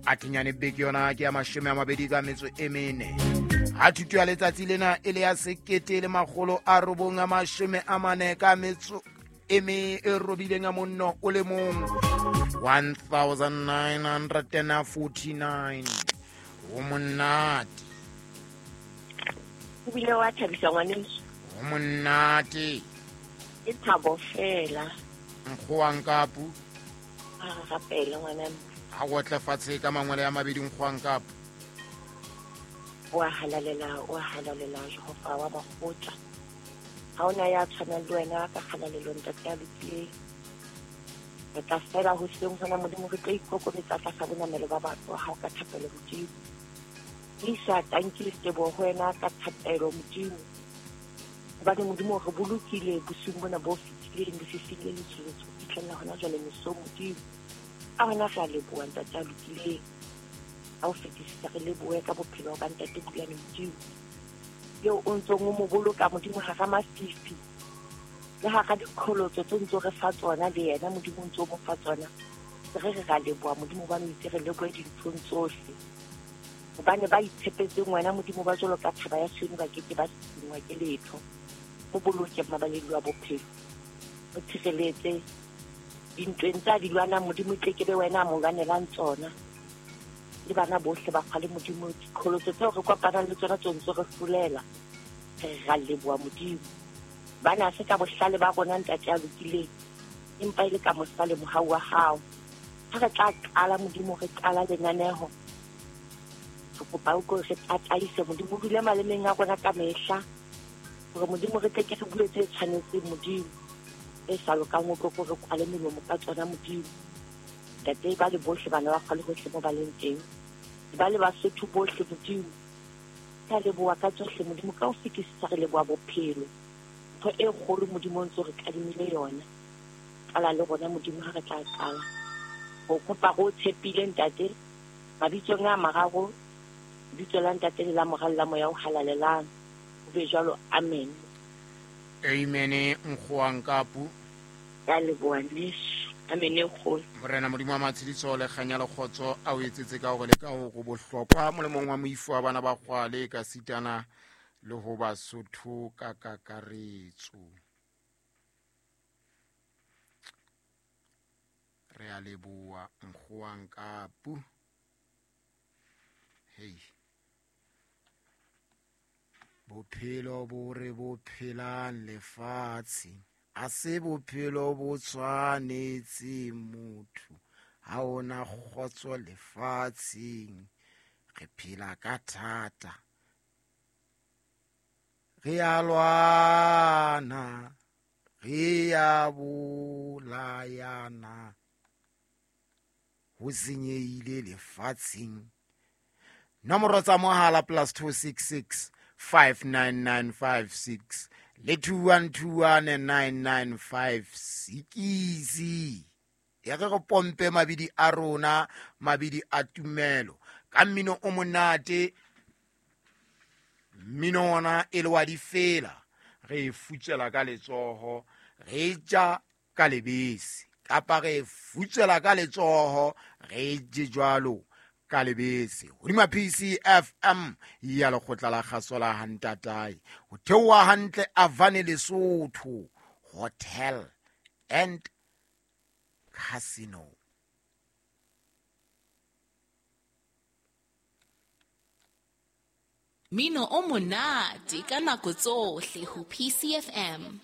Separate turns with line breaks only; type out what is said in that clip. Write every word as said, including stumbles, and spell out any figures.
A kenyane beke yona ke ya mashome a mabedi ka metso e mene. Ha thuto ya letsatsi lena e le ya sekete le makgolo a robong a mashome a mane ka metso e me e robileng a monno o le mong, one thousand nine hundred forty-nine. O monate.
O bile wa thabisa ngwaneso.
O monate.
E thabo fela.
Nkgoang kapu.
A rapela ngwana.
Ha o tla fatshe ka mangwele ya mabedi nkgoang kapu.
Wa halalela, wa halalela Jehova wa makgotla. Ha ona ya tshwanang le wena ka kgalalelo ntate ya lokileng. Re tla fela ho seng hona Modimo re tlo ikokobetsa tlasa bonamelo ba batho ha o ka thapelo Modimo. Lisa tanki le teboho ho wena ka thapelo Modimo. Hobane Modimo re bolokile bosiung bona bo fetileng lefifing le letsholetsho ho fihlella hona jwale mesong Modimo. Ka hona re a leboha ntate ya lokileng. Ha o fetisisa re lebohe ka bophelo ba ntate Bulane Modimo. Eo o ntsong o mo boloka Modimo hara mafifi le hara dikholotso tse ntso re fa tsona le yena Modimo o ntso mo fa tsona. Re re ra leboha Modimo hobane o itse re lebohe dinthong tsohle. Hobane ba itshepetseng wena Modimo ba jwalo ka thaba ya Sione ba keke ba sengwa ke letho. Mo boloke mabaleng wa bophelo. O tshireletse dintweng tsa di lwanang Modimo tle ke be wena a mo lwanelang tsona. Le bana bohle ba kgale Modimo dikholotso tseo re kopanang le tsona tse ntse re hlolela. Re ra leboha Modimo. Bana se ka bohlale ba rona ntate ya lokileng empa e le ka mosa le mohau wa hao. Ha re tla qala Modimo re qala lenaneho. Re kopa o re tataise Modimo o dule malemeng a rona ka mehla. Hore Modimo re tle ke re bue tse tshwanetseng Modimo. E sa lokang o tlo re kwale melomo ka tsona Modimo. Ntate ba le bohle bana ba kgale hohle mo ba leng teng. Ba le Basotho bohle Modimo. Ka leboha ka tsohle Modimo ka ho fetisisa re leboha bophelo. Ntho e kgolo Modimo o ntso re kadimile yona. Qala le rona Modimo ha re tla qala. Ho kopa go tshepile ntate mabitsong a mararo, bitso la ntate le la Mora le la Moya o halalelang. Ho be jwalo, amen.
Amen nkgoang kapu.
Ka leboha neso. Amen e kgolo.
Morena Modimo wa matshediso le kganya le kgotso a o etsetse ka hore le ka hore bohlokwa molemong wa moifo wa bana ba kgwale ka sitana le ho Basotho ka kakaretso. Re a leboha nkgoang kapu. Hey. Bophelo bo re bo phelang lefatshe a se bophelo bo tshwanetse motho. Ha ona kgotso lefatsheng, re phela ka thata. Re a lwana, re a bolayana, ho senyehile lefatsheng. Nomoro tsa mohala plus two six six five nine nine five six le two one two one nine nine five six. Ya re re pompe mabidi a rona, mabidi a tumelo ka mmino o monate. Mmino ona e le wa difela, re e futsela ka letsoho, re ja ka lebese, kapa re futsela ka letsoho, re je jwalo ka lebese. Hodima P C F M ya lekgotla la kgaso la Hantatae, ho theoha hantle Avane Lesotho Hotel and Casino.
Mino o monate ka nako tsohle ho P C F M.